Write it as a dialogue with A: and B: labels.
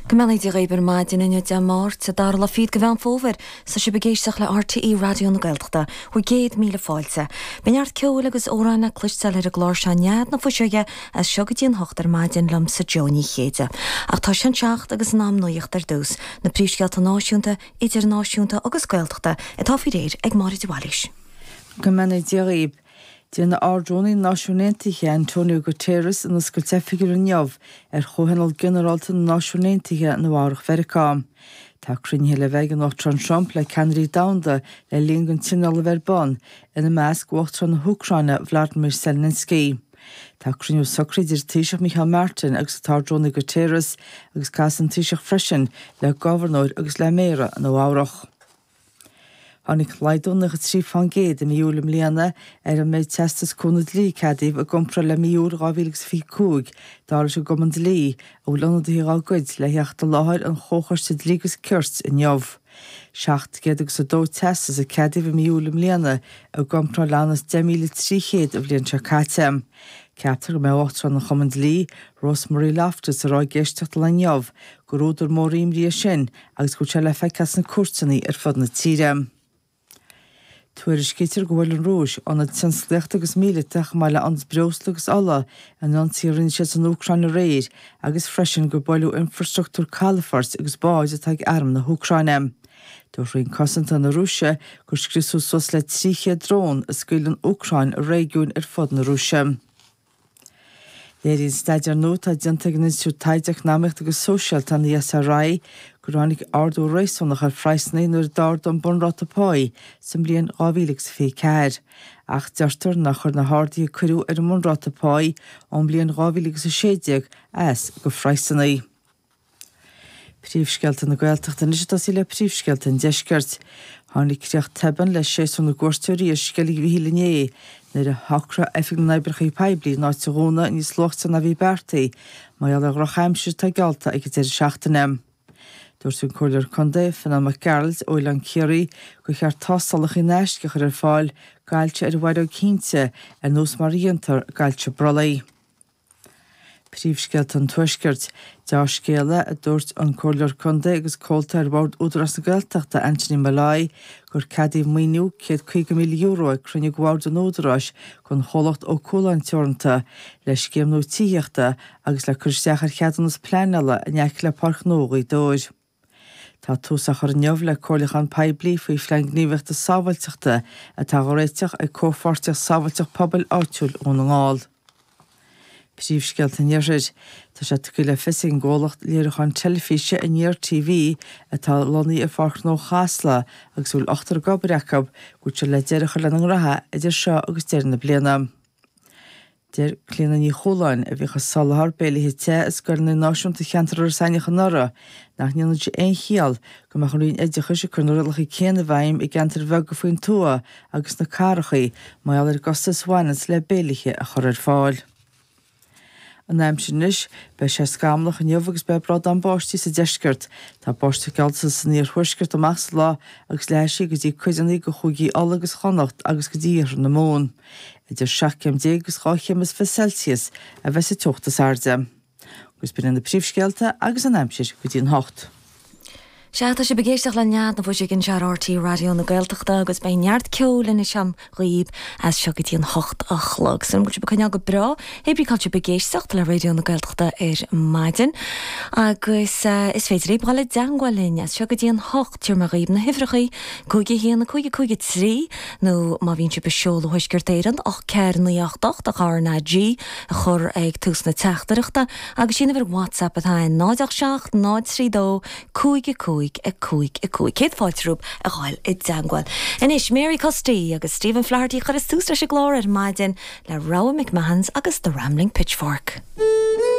A: Go mbeannaí Dia dhaoibh ar maidin inniu Dé Máirt, an dara lá fichead de Mheán Fómhair. Tá sibh ag éisteacht le RTÉ Raidió na Gaeltachta, bhur gcéad míle fáilte. Beidh neart ceoil agus amhráin le cloisteáil ar an gclár seo Nead na Fuiseoige as seo go dtí an hocht ar maidin liomsa Joe Ní Chéide. Ach tá sé an seacht agus in am nuacht ar dtús, na príomhscéalta náisiúnta, idirnáisiúnta agus Gaeltachta atá faoi réir ag Máire de Bhailís.
B: Go mbeannaí Dia dhaoibh. Déanfaidh Ard-Rúnaí na Náisiún Aontaithe, Antonio Guterres, an oscailt oifigiúil inniu ar Chomhthionól Ginearálta na Náisiún Aontaithe i Nua Eabhrac Mheiriceá. Tá cruinnithe le bheith ag an Uachtarán Trump le ceannairí domhanda le linn don tionól a bheith ar bun, ina measc Uachtarán na hÚcráine Vladimir Zelensky. Tá cruinniú socraithe idir an Taoiseach Micheál Martin agus an tArd-Rúnaí Guterres agus casfaidh an Taoiseach freisin le gobharnóir agus le méara Nua Eabhrac. Tháinig laghdú 93% i mí Iúil i mbliana ar an méid teastas cúnamh dlí a ceadaíodh i gcomparáid le mí Iúil 2025, dar leis an gCumann Dlí, a bhfuil ionadaithe dá gcuid le theacht i láthair an Chomhchoiste Dlí agus Cirt inniu. 702 teastas a ceadaíodh i mí Iúil i mbliana i gcomparáid le anuas 10,300 an bhliain seo caite. Ceaptar go mbeidh Uachtarán an Chumainn Dlí, Rosemary Loftus, ag rá ag éisteacht an lae inniu gur údar mór imní é sin agus go bhfuil sé le feiceáil sna cúirteanna ar fud na tíre. Tuairiscítear gur bhuail an Rúis ionad tionsclaíochta agus míleata chomh maith le ionad breosla agus ola in ionsaí a rinne siad san Úcráin aréir agus freisin gur buaileadh infreastruchtúr calafoirt agus báid atá ag arm na hÚcráine. Dúirt Roinn Cosanta na Rúise gur scriosadh suas le 300 drón a scaoil an Úcráin i réigiúin ar fud na Rúise. Léiríonn staidéar nua atá déanta ag an Institiúid Taighde Eacnamaíochta agus Sóisialta, an ESRI, gur tháinig ardú réasúnach ar phraghsanna nuair a d'ardaigh an bunráta páí sa mbliain 2024. Ach deirtear nár chuir na harduithe a cuireadh ar an mbunráta páí ón mbliain 2016 as do phraghsanna. Príomhscéalta na Gaeltachta anois ag tosaí le príomhscéalta an Deiscirt. Tháinig críoch tobann le séasúr na gcuairteoirí ar Sceilg Mhichíl inné nuair a shocraigh Oifig na nOibreacha Poiblí an áit a dhúnadh níos luaite ná bhí beartaithe mar gheall ar dhrochaimsir atá geallta ag an deireadh seachtaine. Dúirt an Comhairleoir Contae, Fionán Mac Gearailt ó Oileán Ciarraí gur cheart tástálacha in aisce a chur ar fáil d'ailse ar an bhfaireog thinte ar nós mar a dhéantar d'ailse brollaigh. Príomhscéalta an Tuaiscirt. Deá-scéala, a dúirt an Comhairleoir Contae agus Comhalta ar Bhord Údarás na Gaeltachta, Anthony Molloy, gur ceadaíodh maoiniú €150,000 ag cruinniú de Bhord an Údaráis don chomhlacht Ó Cualáin Teoranta le scéim nua tithíochta agus le cur isteach ar cheadúnas pleanála in aice le Páirc Ghnó Ghaoth Dobhair. Tá tús á chur inniu le comhairliúchán poiblí faoi Phlean Gníomhaíochta Sábháilteachta atá á réiteach ag Comhpháirtíocht Sábháilteacht Pobail Áitiúil Dhún na nGall. Príomhscéalta an Iarthair. Tá sé tugtha le fios ag an gcomhlacht léiriúcháin teilifíse Aniar TV atá lonnaithe i Pháirc Ghnó Chasla agus a bhfuil ochtar ag obair acu go bhfuil siad le deireadh a chur lena ngraithe idir seo agus deireadh na bliana. Deir Clíona Ní Chualáin, a bhíodh ag soláthar béilithe te i scoileanna náisiúnta cheantar Iorras Aithneach anuraidh, nach ndéanann sé aon chiall go mbeadh an Roinn Oideachais ag cur na rialacha céanna i bhfeidhm i gceantair bheaga faoin tuath agus sna cathracha mar gheall ar an gcostas a bhaineanns le béilithe a chur ar fáil. An aimsir anois, beidh sé scamallach inniu agus beidh brádán báistí sa deisceart. Tá báisteach geallta san iarthuaisceart amach sa lá agus leathfaidh sí go dtí cuideanna de chúigí Uladh agus Chonnacht agus go dtí iarthar na Mumhan. Idir 17 céim agus 12 chéim is fiche Celsius a bheas an teocht is airde. Agus b'in iad na príomhscéalta agus an aimsir go dtí an hocht.
A: Sea, tá sibh ag éisteacht le Nead na bhFuiseog anseo ar RTÉ Raidió na Gaeltachta agus beidh neart ceoil anois agam dhaoib as seo go dtí an hocht a chlog. Súil agam go bhfuil sibh ag coinneáil go breá, hé brí cá bhfuil sibh ag éisteacht le Raidió na Gaeltachta ar maidin. Agus is féidir libh dhul i dteangmháil linn as seo go dtí an hocht, tabharfaidh mé dhaoib na huimhreachaí, 5 1 5 5 3, nó má bhíonn sibh ag seoladh ó Thuaisceart Éireann, 8 4 9 8 8 ach RnaG a chur ag tús na teachtaireachta, agus sí an uimhir WhatsApp atá ann, 0 8 7 0 3 2 5 5 5 5. Céad fáilte romhaibh a ghabháil i dteangmháil. Anois, Mary Custy agus Stephen Flaherty a chuireas tús leis an gclár ar maidin le rogha McMahons agus The Rambling Pitchfork.